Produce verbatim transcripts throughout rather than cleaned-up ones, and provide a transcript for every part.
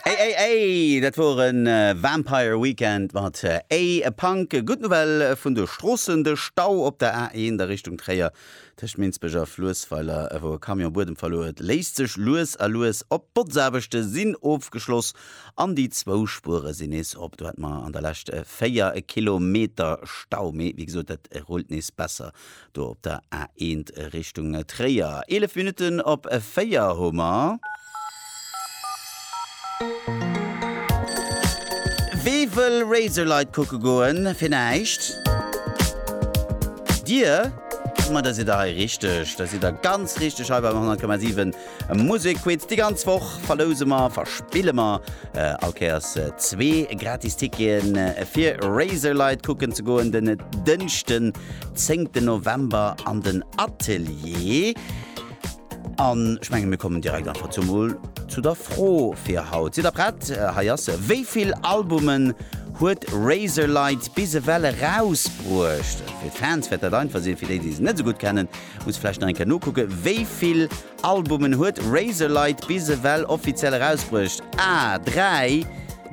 Ey, ey, ey, dat wor en Vampire Weekend mat A Punk. Gutt Nouvelle vun de Stroossen, de Stau op der A eent a Richtung Tréier tëscht Minsbech a Fluessweiler, wou e Camion Buedem verluer huet, léist sech lues a lues op. D'Botzaarbechte sinn ofgeschloss an déi zwou Spuere sinn nees op. Do hate mer an der Lescht véier Kilometer Stau, mee wéi gesot, dat rullt nees besser do op der A eent Richtung Tréier. Eelef Minutten op véier hu mer. Wee wëll Razorlight kucke goen fir näischt? Dir? Ma da sidd der hei richteg, da sidd der ganz richteg hei beim honnert Komma siwen Musekquiz. Déi ganz Woch verlouse mer, verspille mer all Kéiers zwee gratis Ticketen fir Razorlight kucken ze goen den Dënschden, zéngten November an den Atelier. An ech mengen, mir kommen direkt einfach zu mol zu der Fro fir haut. Sidd der prett? Hei ass se, Wéi vill Albumen huet Razorlight bis ewell erausbruecht? Fir d'Fans wäert dat einfach sinn, fir déi, déi se net esou gutt kennen, muss vläicht nach eng Kéier nokucken. Wéi vill Albumen huet Razorlight bis ewell offiziell erausbruecht? A, dräi,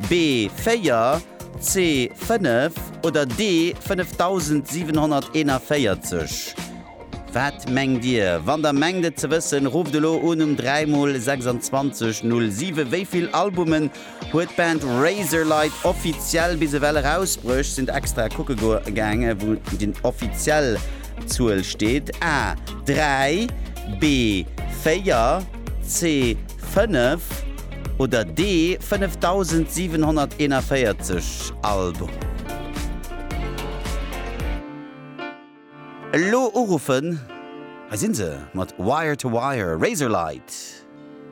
B, véier, C, fënnef oder D, fënnefdausendsiwenhonnerteenavéierzeg? Wat mengt Dir? Wann der mengt et ze wëssen, rufft elo un um dräi mol sechsundzwanzeg null siwen. Wéi vill Albumen huet d'Band Razorlight offiziell bis ewell erausbruecht? Sinn extra kucke gaange wou déi offiziell Zuel steet. A, dräi, B, véier, C, fënnef oder D, fënnefdausendsiwenhonnerteenavéierzeg Albumen? Elo uruffen, hei sinn se mat Wire to Wire, Razorlight.